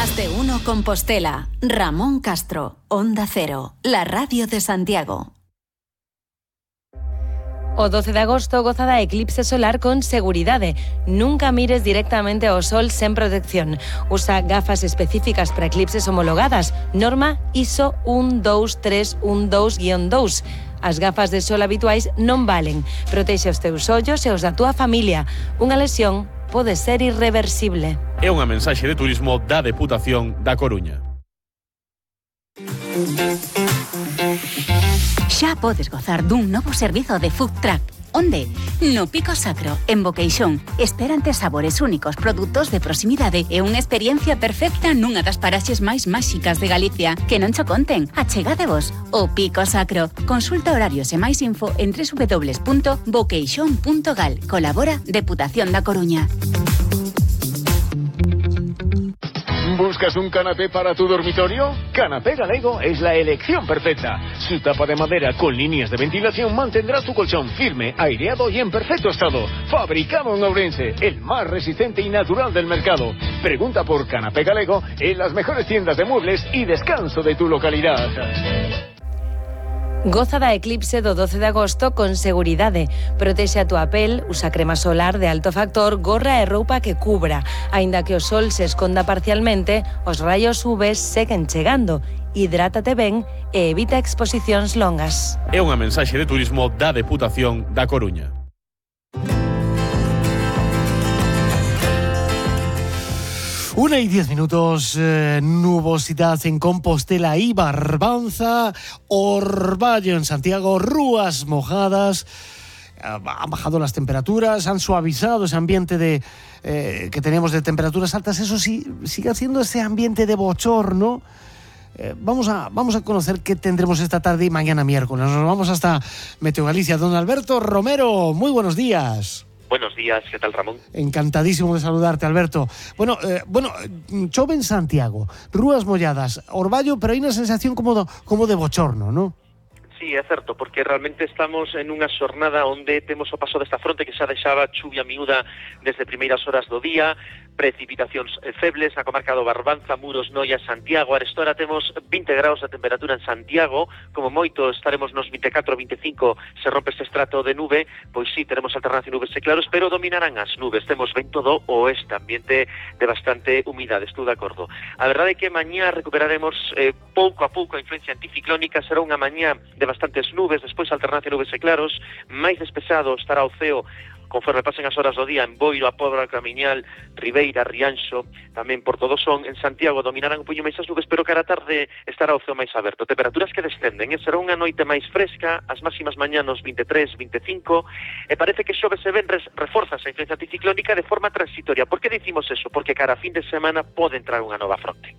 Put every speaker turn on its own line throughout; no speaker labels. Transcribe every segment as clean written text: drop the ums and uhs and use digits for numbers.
Más de uno Compostela. Ramón Castro, Onda Cero, la radio de Santiago.
O 12 de agosto goza da eclipse solar con seguridade. Nunca mires directamente ao sol sen protección. Usa gafas específicas para eclipses homologadas. Norma ISO 12312-2. As gafas de sol habituais non valen. Protexe os teus ollos e os da túa familia. Unha lesión pode ser irreversible.
É unha mensaxe de turismo da Deputación da Coruña.
Xa podes gozar dun novo servizo de food truck. Onde? No Pico Sacro, en Boqueixón. Esperante sabores únicos, produtos de proximidade e unha experiencia perfecta nunha das paraxes máis máxicas de Galicia. Que non cho conten, achegadevos. O Pico Sacro. Consulta horarios e máis info en www.boqueixón.gal. Colabora Deputación da Coruña.
¿Buscas un canapé para tu dormitorio? Canapé Galego es la elección perfecta. Su tapa de madera con líneas de ventilación mantendrá tu colchón firme, aireado y en perfecto estado. Fabricado en Ourense, el más resistente y natural del mercado. Pregunta por Canapé Galego en las mejores tiendas de muebles y descanso de tu localidad.
Goza da eclipse do 12 de agosto con seguridade. Protexe a túa pel, usa crema solar de alto factor, gorra e roupa que cubra. Aínda que o sol se esconda parcialmente, os raios UV seguen chegando. Hidrátate ben e evita exposicións longas.
É unha mensaxe de turismo da Deputación da Coruña.
1:10, nubosidad en Compostela y Barbanza, Orballo en Santiago, rúas mojadas. Han bajado las temperaturas, han suavizado ese ambiente que teníamos de temperaturas altas. Eso sí, sigue haciendo ese ambiente de bochorno. Vamos a conocer qué tendremos esta tarde y mañana miércoles. Nos vamos hasta Meteo Galicia. Don Alberto Romero, muy buenos días.
Buenos días, ¿qué tal, Ramón?
Encantadísimo de saludarte, Alberto. Bueno, chove en Santiago, rúas molladas, Orballo, pero hai unha sensación como de bochorno, ¿no?
Sí, é certo, porque realmente estamos en unha xornada onde temos o paso desta fronte que xa deixaba chuvia miúda desde primeiras horas do día, precipitacións febles na comarca do Barbanza, Muros, Noia, Santiago. Arestora temos 20 graus de temperatura en Santiago, como moito estaremos nos 24, 25, se rompe este estrato de nube, pois sí, teremos alternancia nubes e claros, pero dominarán as nubes. Temos vento do oeste, ambiente de bastante humidade, estou de acordo. A verdade é que mañá recuperaremos pouco a pouco a influencia anticiclónica, será unha mañá de bastantes nubes, despois alternancia nubes e claros, máis despexado estará o ceo conforme pasen as horas do día en Boiro, a Pobra, Camiñal, Ribeira, Rianxo, tamén Porto do Son. En Santiago dominarán un puño máis as nubes, pero cara a tarde estará o ceo máis aberto. Temperaturas que descenden, será unha noite máis fresca, as máximas mañá nos 23, 25, e parece que xoves e venres reforzas a influencia anticiclónica de forma transitoria. Por que dicimos eso? Porque cara a fin de semana pode entrar unha nova fronte.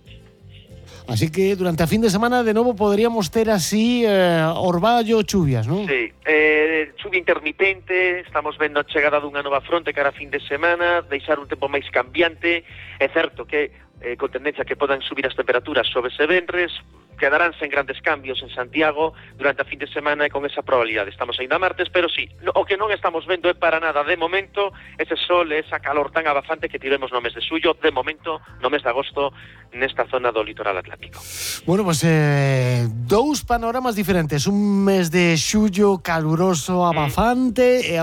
Así que durante a fin de semana de novo poderíamos ter así orballo, chuvias, ¿no?
Sí, chuvia intermitente, estamos vendo a chegada dunha nova fronte cara a fin de semana, deixar un tempo máis cambiante. É certo que con tendencia que podan subir as temperaturas xoves e venres, quedarán sen grandes cambios en Santiago durante a fin de semana e con esa probabilidade. Estamos ainda martes, pero sí, o que non estamos vendo é para nada de momento ese sol e esa calor tan abafante que tivemos no mes de xullo, de momento no mes de agosto nesta zona do litoral atlántico.
Bueno, pues dous panoramas diferentes, un mes de xullo caluroso, abafante e